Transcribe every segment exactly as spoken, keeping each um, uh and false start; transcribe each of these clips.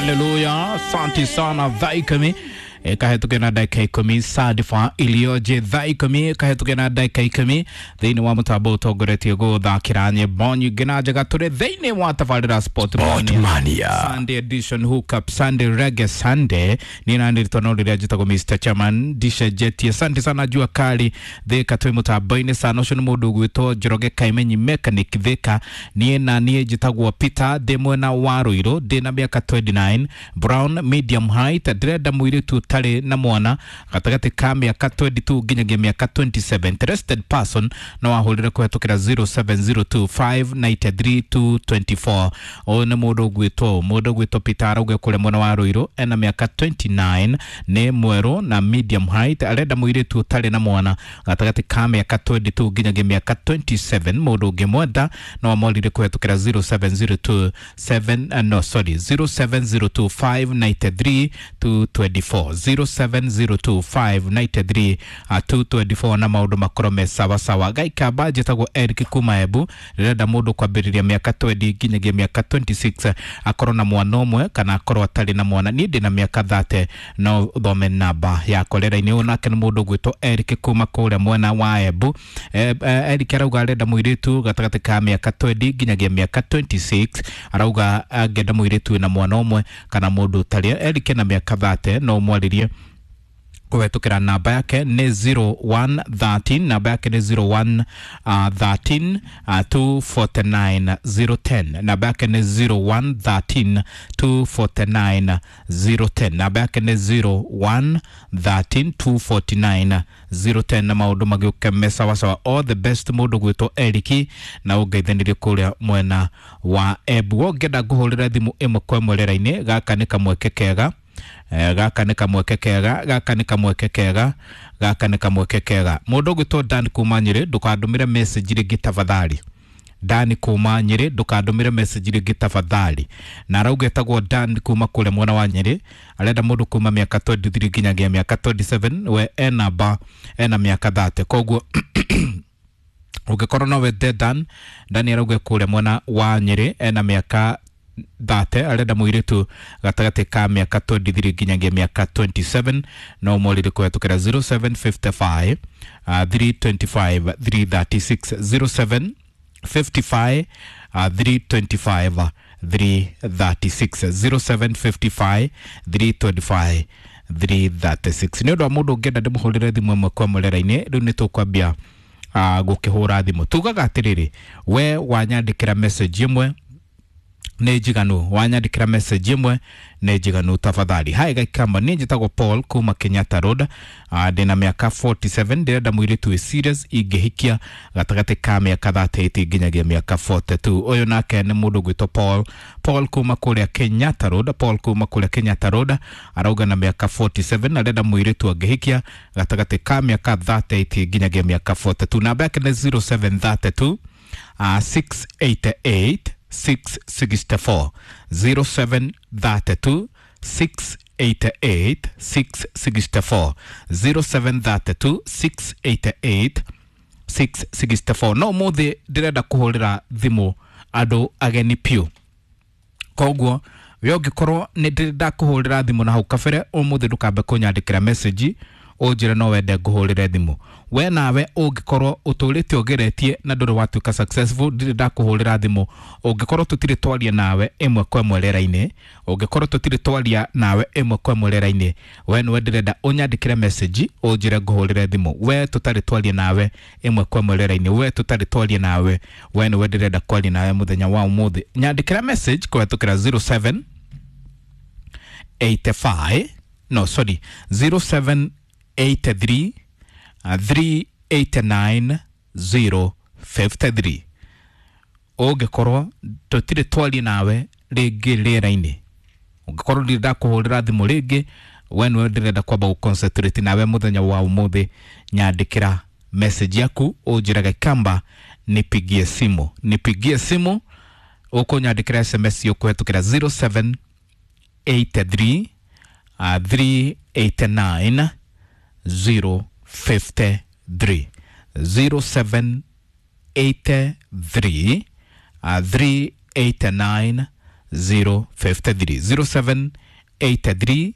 Haleluya, asante sana thaa ikumi ikahetũke na ndagĩka ikũmi sadifa iliyoje thaa ikũmi ikahetũke na ndagĩka ikũmi thĩinĩ wa mũtambo ũtongoretie gũthakĩra nyĩmbo nyingĩ na njega tũrĩ thĩinĩ wa tabarĩra Sport Mania. Sunday edition hookup Sunday reggae Sunday niĩ na nĩrĩtwa no rĩrĩa njĩtagwo Mister Chairman ndicenjetie. Asante sana jua kali thĩka twĩ mũtambo-inĩ sana ũcio nĩ mũndũ ũgwĩtwo Njoroge Kaimenyi mechanic thĩka. Niĩ na niĩ njĩtagwo Peter ndĩ mwena wa Ruiru ndĩ na mĩaka twenty-nine brown medium height ndĩrenda mũirĩtu ũtarĩ na mwana gatagatĩ ka mĩaka twenty-two nginyagia mĩaka twenty-seven. Interested person no ahũrĩre kũhetũkĩra zero seven zero two five nine three two two four. Ũyũ nĩ mũndũ ũgwĩtwo mũndũ ũgwĩtwo Peter arauga kũrĩa mwena wa Ruiru ena mĩaka twenty-nine nĩ mwerũ na medium height arenda mũirĩtu ũtarĩ na mwana gatagatĩ ka mĩaka twenty-two nginyagia mĩaka twenty-seven. Mũndũ ũngĩmwenda no amwarire kũhetũkĩra zero seven zero two seven uh, no sorry zero seven zero two five nine three two two four zero seven zero two five nine three two two four na maũndũ makorwo me sawa sawa. Gaikamba njĩtagwo Eric kuma Embu ndĩrenda mũndũ kwambĩrĩria mĩaka twenty nginyagia mĩaka twenty-six akorwo na mwana ũmwe kana akorwo atarĩ na mwana. Niĩ ndĩ na mĩaka thirty no ũthome namba yakwa rĩera-inĩ. Ũyũ nake nĩ mũndũ ũgwĩtwo Eric kuma kũrĩa mwena wa Embu. E, e, Eric arauga arenda mũirĩtu gatagatĩ ka mĩaka twenty nginyagia mĩaka twenty-six arauga angĩenda mũirĩtu wĩna mwana ũmwe kana mũndũ ũtarĩ. Eric ena mĩaka thirty no ũmwarĩrie kũhetũkĩra namba yake nĩ zero one thirteen namba yake nĩ zero one thirteen two forty-nine zero ten namba yake nĩ zero one thirteen two forty-nine zero ten namba yake nĩ zero one thirteen two forty-nine zero ten na maũndũ magĩũke me sawasawa. All the best mũndũ gwĩtwo Eric na ũngeithanĩrie kũrĩa mwena wa Embu. Ũngĩenda ngũhũrĩre thimũ ĩmwe kwa ĩmwe rĩera-inĩ gaka nĩ kamweke kega. Eh, gaka nĩ kamweke kega gaka nĩ kamweke kega gaka nĩ kamweke kega. Mũndũ ũgwĩtwo Dan kuma Nyĩrĩ ndũkandũmĩre message rĩngĩ tafadhali. Dan kuma Nyĩrĩ ndũkandũmĩre message rĩngĩ tafadhali. Na arauga etagwo Dan kuma kũrĩa mwena wa Nyĩrĩ arenda mũndũ kuma mĩaka twenty-three nginyagia mĩaka twenty-seven we ena ba ena mĩaka thirty koguo ũngĩkorwo no wende Dan Dan arauga kũrĩa mwena wa Nyĩrĩ ena mĩaka thirty arenda mũirĩtu gatagatĩ ka mĩaka twenty-three nginyagia mĩaka twenty-seven no ũmũrĩre kũhetũkĩra zero seven fifty-five three twenty-five three thirty-six zero seven fifty-five three twenty-five three thirty-six zero seven fifty-five three twenty-five three thirty-six. Nĩ ũndũ wa mũndũ ũngĩenda ndĩmũhũrĩre thimũ ĩmwe kwa ĩmwe rĩera-inĩ rĩu nĩ tũkwambia uh, gũkĩhũra thimũ. Tugaga atĩrĩrĩ we wanyandĩkĩra message ĩmwe nĩ njiganu wanyandĩkĩra message ĩmwe nĩ njiganu tafadhali. Hai gaikamba niĩ njĩtagwo Paul kuma Kenyatta Road uh, ndĩna mĩaka forty-seven ndĩrenda mũirĩtu wĩ serious ingĩhikia gatagatĩ ka mĩaka thirty-eight nginyagia mĩaka forty-two. Ũyũ nake nĩ mũndũ ũgwĩtwo Paul Paul kuma kũrĩa Kenyatta Road Paul kuma kũrĩa Kenyatta Road arauga na mĩaka forty-seven arenda mũirĩtu angĩhikia gatagatĩ ka mĩaka thirty-eight nginyagia mĩaka forty-two. Namba yake nĩ zero seven thirty-two uh, six eighty-eight six sixty-four zero seven thirty-two six eighty-eight six sixty-four zero seven thirty-two six eighty-eight six sixty-four. No mũthĩ ndĩrenda kũhũrĩra thimũ andũ ageni piũ koguo we ũngĩkorwo nĩ ndĩrenda kũhũrĩra thimũ na hau kabere ũmũthĩ ndũkambe kũnyandĩkĩra message ũnjĩre no wende ngũhũrĩre thimũ. We nawe ũngĩkorwo ũtũrĩte ũgeretie na ndũrĩ watuĩka successful ndirĩ ndakũhũrĩra thimũ. Ũngĩkorwo tũtirĩ twaria nawe ĩmwe kwa ĩmwe rĩera-inĩ ũngĩkorwo tũtirĩ twaria nawe ĩmwe kwa ĩmwe rĩera-inĩ we nĩwe ndĩrenda ũnyandĩkĩre message ũnjĩre ngũhũrĩre thimũ. We tũtarĩ twaria nawe ĩmwe kwa ĩmwe rĩera-inĩ we tũtarĩ twaria nawe we nĩwe ndĩrenda kwaria nawe mũthenya wa ũmũthĩ. Nyandĩkĩra message kũhetũkĩra zero seven eighty-five no sorry zero seven eighty-three three eighty-nine zero fifty-three. Ũngĩkorwo tũtirĩ twaria nawe rĩngĩ rĩera-inĩ ũngĩkorwo ndirĩ ndakũhũrĩra thimũ rĩngĩ we nĩwe ndĩrenda kwamba gũconcentrate nawe mũthenya wa ũmũthĩ nyandĩkĩra message yaku ũnjĩre Gaikamba nipigie simu nipigie simu ũkũnyandĩkĩra S M S ũkũhetũkĩra zero seven eighty-three three eighty-nine zero fifty-three zero seven eighty-three three eighty-nine zero fifty three, zero seven eight three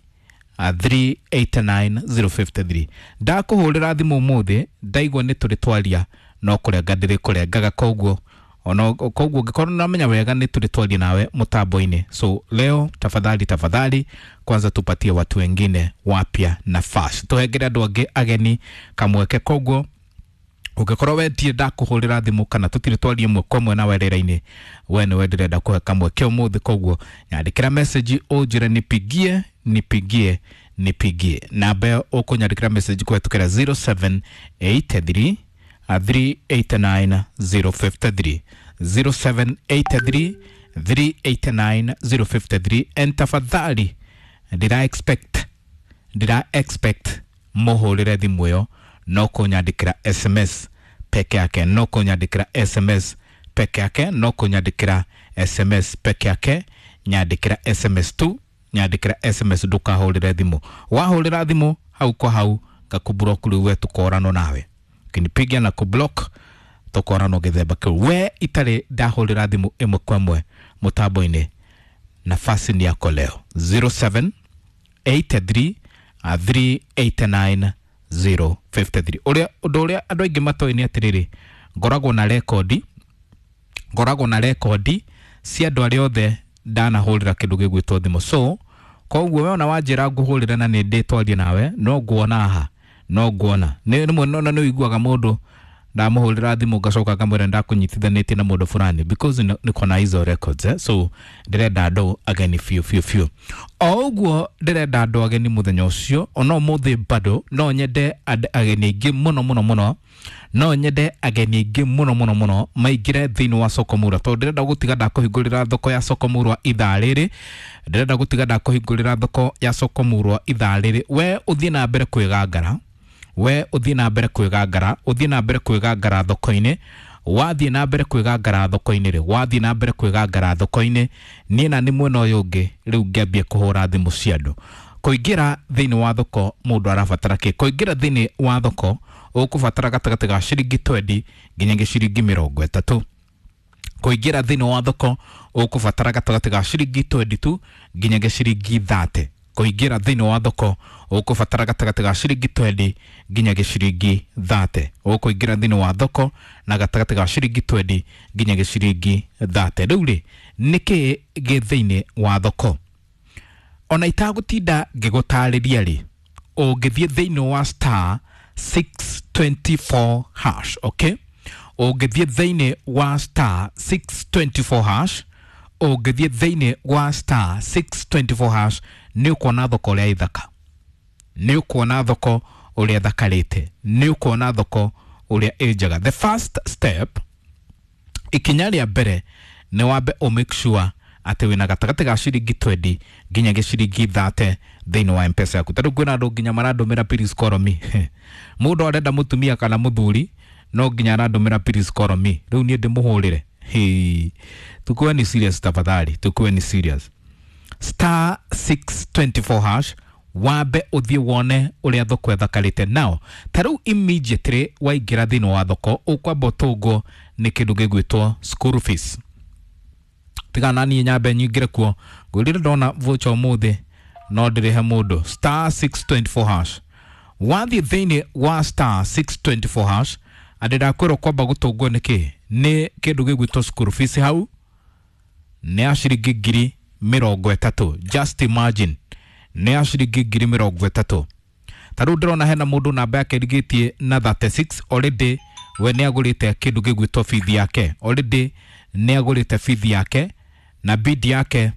three eight nine zero fifty three. Ndakũhũrĩra thimũ ũmũthĩ, ndaigua nĩ tũrĩ twaria, no kũrenga ndĩrĩ kũrengaga. Koguo ona koguo ũngĩkorwo namenya wega nĩ tũrĩ twaria nawe mũtambo-inĩ, so leo tafadhali, tafadhali, kwanza tupatie watu wengine wapya nafasi, tũhengere andũ angĩ ageni kamweke. Koguo ũngĩkorwo we ndirĩ ndakũhũrĩra thimũ kana tũtirĩ twaria ĩmwe kwa ĩmwe nawe rĩera-inĩ, we nĩwe ndĩrenda kũhe kamweke ũmũthĩ. Koguo nyandĩkĩra message ũnjĩre nipigie, nipigie, nipigie. Namba ĩyo ũkũnyandĩkĩra message kũhetũkĩra zero seven eight three three eight nine zero five three, zero seven eight three three eight nine zero five three. And tafadhali, ndĩra expect ndĩra expect mũhũrĩre thimũ ĩyo, no kũnyandĩkĩra S M S peke yake, no kũnyandĩkĩra S M S peke yake, no kũnyandĩkĩra S M S peke yake. Nyandĩkĩra S M S tu, nyandĩkĩra S M S, ndũkahũrĩre thimũ. Wahũrĩra thimũ, hau kwa hau ngakũblock. Rĩu we tũkoranwo nawe, ukinipiga na kublock, tũkoranwo gĩthemba kĩu. We itarĩ ndahũrĩra thimũ ĩmwe kwa ĩmwe mũtambo-inĩ, nafasi ni yako leo, zero seven eight three three eight nine zero five three. Ũrĩa ũndũ ũrĩa andũ aingĩ matoĩ nĩ atĩrĩrĩ, ngoragwo na rekondi ngoragwo na rekondi cia andũ arĩa othe ndanahũrĩra kĩndũ gĩgwĩtwo thimũ. So koguo we ona wanjĩra ngũhũrĩra na nĩ ndĩtwarie nawe, no nguona haha, no nguona nĩ rĩmwe no nĩ ũiguaga mũndũ ndamũhũrĩra thimũ ngacoka ngamwĩra ndakũnyitithanĩtie na mũndũ fulani, because niko na hizo records, eh? So ndĩrenda andũ ageni biũ biũ biũ. O ũguo ndĩrenda andũ ageni mũthenya ũcio, ona ũmũthĩ bado no nyende and- ageni aingĩ mũno mũno mũno, no nyende ageni aingĩ mũno mũno mũno maingĩre thĩinĩ wa soko murwa, tondũ ndĩrenda gũtiga ndakũhingũrĩra thoko ya soko murwa ithaa rĩrĩ. Ndĩrenda gũtiga ndakũhingũrĩra thoko ya soko murwa ithaa rĩrĩ. We ũthiĩ na mbere kwĩgangara, we ũthiĩ na mbere kwĩgangara, ũthiĩ na mbere kwĩgangara thoko-inĩ. Wathiĩ na mbere kwĩgangara thoko-inĩ rĩ, wathiĩ na mbere kwĩgangara thoko-inĩ, niĩ na nĩ mwena ũyũ ũngĩ rĩu ngĩambie kũhũra thimũ cia andũ. Kũingĩra thĩinĩ wa thoko mũndũ arabatara kĩ? Kũingĩra thĩinĩ wa thoko ũkũbatara gatagatĩ ga ciringi twenty nginyagia ciringi mĩrongo ĩtatũ. Kũingĩra thĩinĩ wa thoko ũkũbatara gatagatĩ ga ciringi twenty-two nginyagia ciringi thirty. Kũingĩra thĩinĩ wa thoko ũkũbatara gatagatĩ ga ciringi twenty nginyagia ciringi thirty. Ũkũingĩra thĩinĩ wa thoko na gatagatĩ ga ciringi twenty nginyagia ciringi thirty. Rĩu rĩ, nĩkĩ gĩ thĩinĩ wa thoko? Ona itagũtinda ngĩgũtarĩria rĩ, ũngĩthiĩ thĩinĩ wa star six two four hash, okay, ũngĩthiĩ thĩinĩ wa star six two four hash, ũngĩthiĩ thĩinĩ wa star six two four hash, nĩ ũkuona thoko ũrĩa ĩthaka, nĩ ũkuona thoko ũrĩa thakarĩte, nĩ ũkuona thoko ũrĩa ĩ njega. The first step, ikinya rĩa mbere, nĩ wambe ũ make sure atĩ wĩna gatagatĩ ga ciringi twenty nginyagia ciringi thirty thĩinĩ wa M-Pesa yaku. Tarĩu kwĩna andũ nginya marandũmĩra "Please call me". Mũndũ arenda mũtumia kana mũthuri, no nginya arandũmĩra "Please call me". Rĩu niĩ ndĩmũhũrĩre? Hey, tukuwe ni serious tafadhali, tukuwe ni serious. Star six two four hash, wambe ũthiĩ wone ũrĩa thoko ĩthakarĩte. Nao ta rĩu immediately waingĩra thĩinĩ wa thoko, ũkwamba ũtũngwo nĩ kĩndũ gĩgwĩtwo school fees. Tiga na niĩ nyambe nyingĩre kuo, ngwĩrire ndona voucher ũmũthĩ no ndĩrĩhe mũndũ. Star six two four hash, wathiĩ thĩinĩ wa star six two four hash, andĩ ndakwĩrwo kwamba gũtũngwo nĩ kĩ? Nĩ kĩndũ gĩgwĩtwo school fees. Hau nĩ ya ciringi ngiri mĩrongo ĩtatũ. Just imagine, nĩ ya ciringi ngiri mĩrongo ĩtatũ. Ta rĩu ndĩrona hena mũndũ namba yake ĩrigĩtie na thirty-six, already we nĩ agũrĩte kĩndũ gĩgwĩtwo bithi yake, already nĩ agũrĩte bithi yake na bidi yake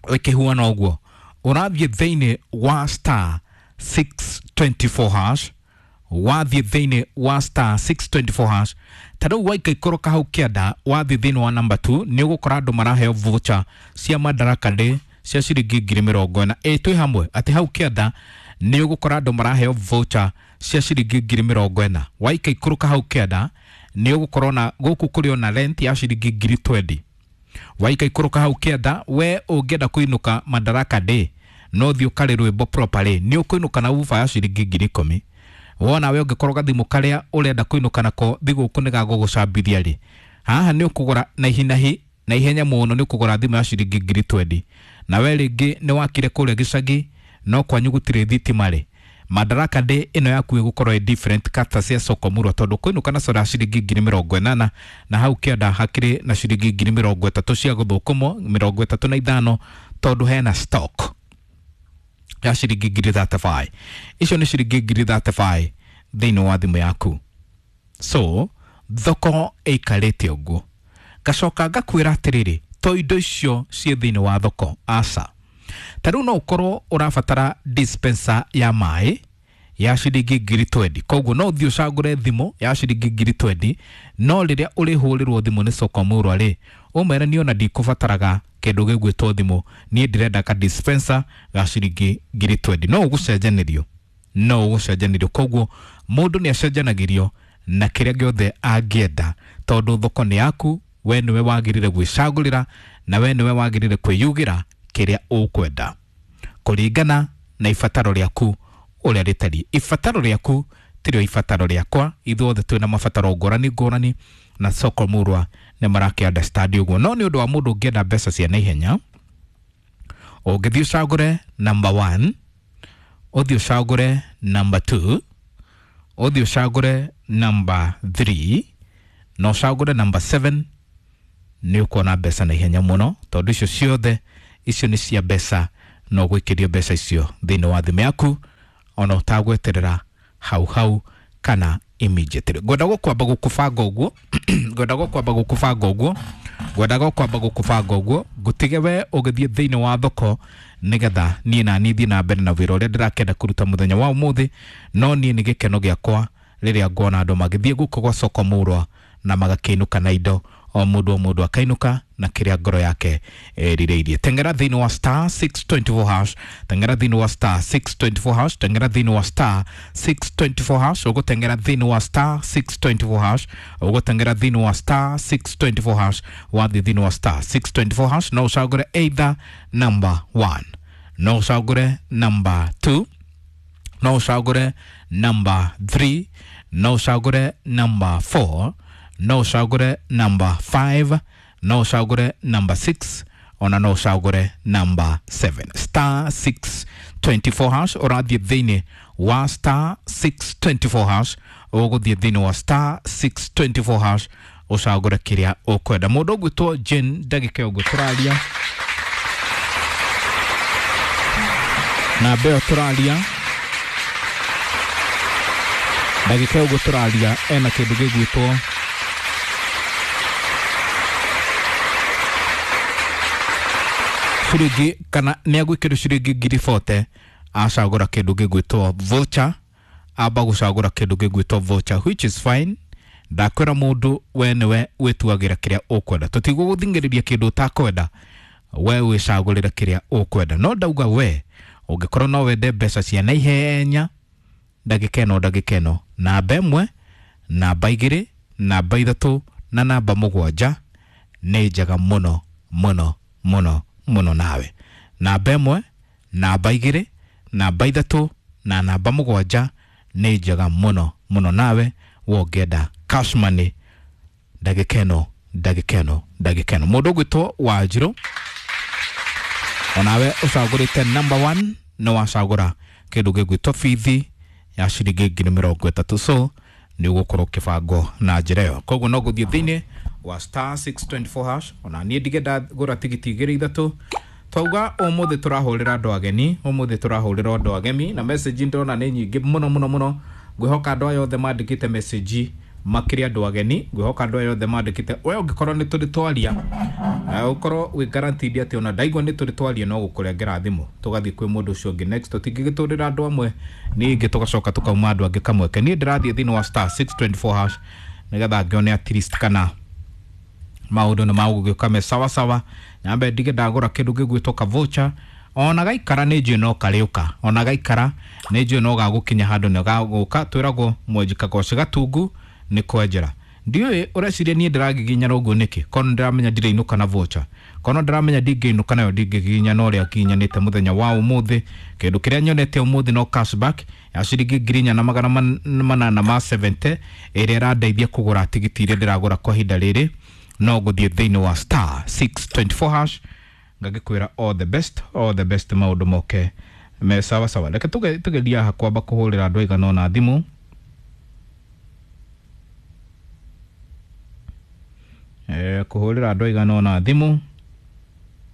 ĩkĩhuana ũguo. Ũrathiĩ thĩinĩ wa star six two four hash, wathiĩ thĩinĩ wa star six two four hash, ta rĩu waikaikũrũka hau kĩanda, wathiĩ thĩinĩ wa number two, nĩ ũgũkora andũ maraheo voucher cia Madaraka Day cia ciringi ngiri mĩrongo ĩna. Ĩ twĩ hamwe atĩ hau kĩanda nĩ ũgũkora andũ maraheo voucher cia ciringi ngiri mĩrongo ĩna. Waikaikũrũka hau kĩanda, nĩ ũgũkora ona gũkũ kũrĩ ona rent ya ciringi ngiri twenty. Waikaikũrũka hau kĩanda, we ũngĩenda kũinũka Madaraka Day no thiĩ ũkarĩ rwĩmbo properly, nĩ ũkũinũka na uba ya ciringi ngiri ikũmi. Wona we ũngĩkorwo gathimũ karĩa ũrenda kũinũka nako thigũkũ nĩ gagũgũcambithia rĩ, haha nĩ ũkũgũra na ihinahi. na ihenya mũno nĩ ũkũgũra thimũ ya ciringi ngiri twendi na we rĩngĩ nĩ wakire kũrĩa gĩcagi no kwanyu gũtirĩ thitima rĩ, Madaraka Day ĩno yaku ĩgũkorwo ĩ different kata cia soko murwa tondũ kwĩnũka na soda ya ciringi ngiri mĩrongo ĩnana na hau kĩanda hakĩrĩ na ciringi ngiri mĩrongo ĩtatũ cia gũthũkũmwo mĩrongo ĩtatũ na ithano tondũ hena stock ya ciringi ngiri thirty-five. Icio nĩ ciringi ngiri thirty-five thĩinĩ wa thimũ yaku. So thoko ĩikarĩte ũguo. Ngacoka ngakwĩra atĩrĩrĩ, to indo icio ciĩ thĩinĩ wa thoko aca. Ta rĩu no ũkorwo ũrabatara dispenser ya maĩ ya ciringi ngiri twendi, koguo no ũthiĩ ũcagũre thimũ ya ciringi ngiri twendi, no rĩrĩa ũrĩhũrĩrwo thimũ nĩ soko murwa rĩ, ũmere niĩ ona ndikũbataraga kĩndũ gĩgwĩtwo thimũ, niĩ ndĩrenda ka dispenser ga ciringi ngiri twendi. No ũgũcenjanĩrio, no ũgũcenjanĩrio. Koguo mũndũ nĩ acenjanagĩrio na kĩrĩa gĩothe angĩenda tondũ thoko nĩ yaku, we nĩwe wagĩrĩire gwĩcagũrĩra na we nĩwe wagĩrĩire kwĩyugĩra kĩrĩa ũkwenda kũringana na ibataro rĩaku ũrĩa rĩtariĩ. Ibataro rĩaku tirĩo ibataro rĩakwa, ithuothe twĩna mabataro ngũrani ngũrani na soko murwa nĩ marakĩ understand ũguo. No nĩ ũndũ wa mũndũ ũngĩenda mbeca cia naihenya, ũngĩthiĩ ũcagũre number one, ũthiĩ ũcagũre number two, ũthiĩ ũcagũre number three na ũcagũre number seven, nĩ ũkuona mbeca na ihenya mũno tondũ icio ciothe icio nĩ cia mbeca no gwĩkĩrio mbeca icio thĩinĩ wa thimũ yaku ona ũtagweterera hau hau kana immediately. Ngwenda gũkwamba gũkũbanga ũguo ngwenda gũkwamba gũkũbanga ũguo ngwenda gũkwamba gũkũbanga ũguo ngũtige we ũgĩthiĩ thĩinĩ wa thoko nĩgetha niĩ na niĩ thiĩ na mbere na wĩra ũrĩa ndĩrakĩenda kũruta mũthenya wa ũmũthĩ. No niĩ nĩ gĩkeno gĩakwa rĩrĩa nguona andũ magĩthiĩ gũkũ gwa soko murwa na magakĩinũka na indo, o mũndũ o mũndũ akainũka na kĩrĩa ngoro yake ĩrirĩirie. Teng'era thĩinĩ wa star six twenty-four hash, teng'era thĩinĩ wa star six twenty-four hash, teng'era thĩinĩ wa star six twenty-four hash, ũgũteng'era thĩinĩ wa star six twenty-four hash, ũgũteng'era thĩinĩ wa star six twenty-four hash, wathiĩ thĩinĩ wa star six twenty-four hash no ũcagũre either number one, no ũcagũre number two, no ũcagũre number three, no ũcagũre number four, no ũcagũre number five, no ũcagũre number six, ona no ũcagũre number seven. Star six twenty-four hash ũrathiĩ thĩinĩ wa star six twenty-four hash, ũgũthiĩ thĩinĩ wa star six twenty-four hash ũcagũre kĩrĩa ũkwenda. Mũndũ ũgwĩtwo Jane ndagĩka ũguo tũraria na mbeo tũraria ndagĩka ũguo tũraria ena kĩndũ gĩgwĩtwo ciringi kana nĩ agwĩkĩrwo ciringi ngiri forty acagũra kĩndũ gĩgwĩtwo voucher, amba gũcagũra kĩndũ gĩgwĩtwo voucher which is fine. Ndakwĩra mũndũ we nĩwe wĩtuagĩra kĩrĩa ũkwenda, tũtigũgũthing'ĩrĩria kĩndũ ũtakwenda, we wĩcagũrĩre kĩrĩa ũkwenda. No ndauga we ũngĩkorwo no wende mbeca cia naihenya ndagĩka ĩno ndagĩka ĩno, namba ĩmwe, namba igĩrĩ, namba ithatũ na namba mũgwanja nĩ njega mũno mũno mũno mũno nawe. Namba ĩmwe, namba igĩrĩ, namba ithatũ na namba mũgwanja nĩ njega mũno mũno nawe wongenda cash money ndagĩka ĩno ndagĩka ĩno ndagĩka ĩno. Mũndũ ũgwĩtwo Wanjirũ onawe ũcagũrĩte number one nĩ wacagũra kĩndũ gĩgwĩtwo bithi ya ciringi ngiri mĩrongo ĩtatũ, so nĩ ũgũkorwo ũkĩbangwo na njĩra ĩyo. Koguo no gũthiĩ thĩinĩ wa star six twenty-four hash ona niĩ ndige ndagũra tigiti igĩrĩ ithatũ. Twauga ũmũthĩ tũrahũrĩra andũ ageni, ũmũthĩ tũrahũrĩra andũ agemi na message ndĩrona nĩ nyingĩ mũno mũno mũno. Ngwĩhoka andũ aya othe mandĩkĩte message makĩria andũ ageni, ngwĩhoka andũ aya othe mandĩkĩte. We ũngĩkorwo nĩ tũrĩ twaria, ũkorwo wĩ guaranteed atĩ ona ndaigua nĩ tũrĩ twaria no gũkũrengera thimũ tũgathiĩ kwĩ mũndũ ũcio ũngĩ next. Tũtingĩgĩtũrĩra andũ amwe ningĩ tũgacoka tũkauma andũ angĩ kamweke. Niĩ ndĩrathiĩ thĩinĩ wa star six twenty-four hash nĩgetha ngĩone at least kana maũndũ nĩ magũgĩũka me sawa sawa. Nyambe ndige ndagũra kĩndũ gĩgwĩtwo ka voucher, ona gaikara nĩ njũĩ no karĩũka, ona gaikara nĩ njũĩ no gagũkinya handũ nĩ gagũka. Twĩragwo mwenji kagoci gatungu nĩ kwenjera. Ndiũĩ ũreciria niĩ ndĩragiginyana ũguo nĩkĩ, korwo nĩndĩramenya ndirĩinũka na voucher, korwo nĩndĩramenya ndingĩinũka nayo ndingĩgiginyana ũrĩa nginyanĩte mũthenya wa ũmũthĩ. Kĩndũ kĩrĩa nyonete ũmũthĩ no cashback ya ciringi ngiri inya na magana manana ma seventy ĩrĩa ĩrandeithia kũgũra tigiti iria ndĩragũra kwa ihinda rĩrĩ. No gũthiĩ thĩinĩ wa star six twenty four hash. Ngagĩkwĩra all the best, all the best, maũndũ moke me sawa sawa. Reke tuge tugeria haha kwamba kũhũrĩra andũ aigana ũna thimũ. Eh, kũhũrĩra andũ aigana ũna thimũ.